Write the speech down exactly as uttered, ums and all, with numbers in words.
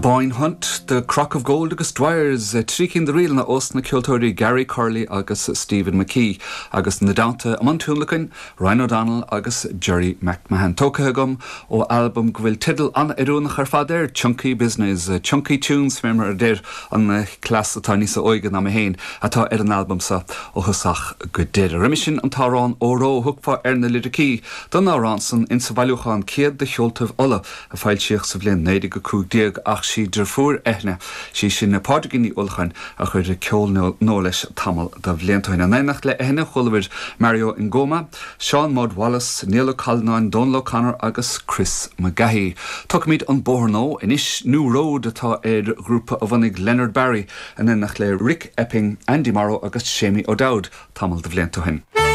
Boyne Hunt, The Crock of Gold agus Dwyers trí cinn de ríleanna ós na ceoltóirí Gary Curley agus Stephen McKee agus ina dteannta i mbun tionlacain, Ryan O'Donnell agus Jerry McMahon. Tógtha agam ó albam go bhfuil teideal an-oiriúnach ar fad air Chunky Business, Chunky Tunes mar a deir an cleas atá níos óige ná mé féin atá ar an albam seo ó thosach go deireadh. Roimhe sin an t-amhrán Óró thugfá ar na liricí don amhrán san insa bhailiúchán céad de cheoltaibh Uladh a foilsíodh sa bhliain naoi déag a cúig déag ach sí deirfiúr Eithne sí sin Pádraigín Ní Uallacháin a chuir ceol nua leis tamall de bhlianta. In éineacht le Eithne chualamar Mario Ngoma, Seán Maud Wallace, Niall Ó Callanáin, Donal O'Connor agus Chris McGahey. Tógfaimid an bóthar nua anois New Road atá ar ghrúpa a bhunaigh Leonard Barry in éineacht le Rick Epping, Andy Morrow agus Seamie O'Dowd tamall de bhlianta ó shin.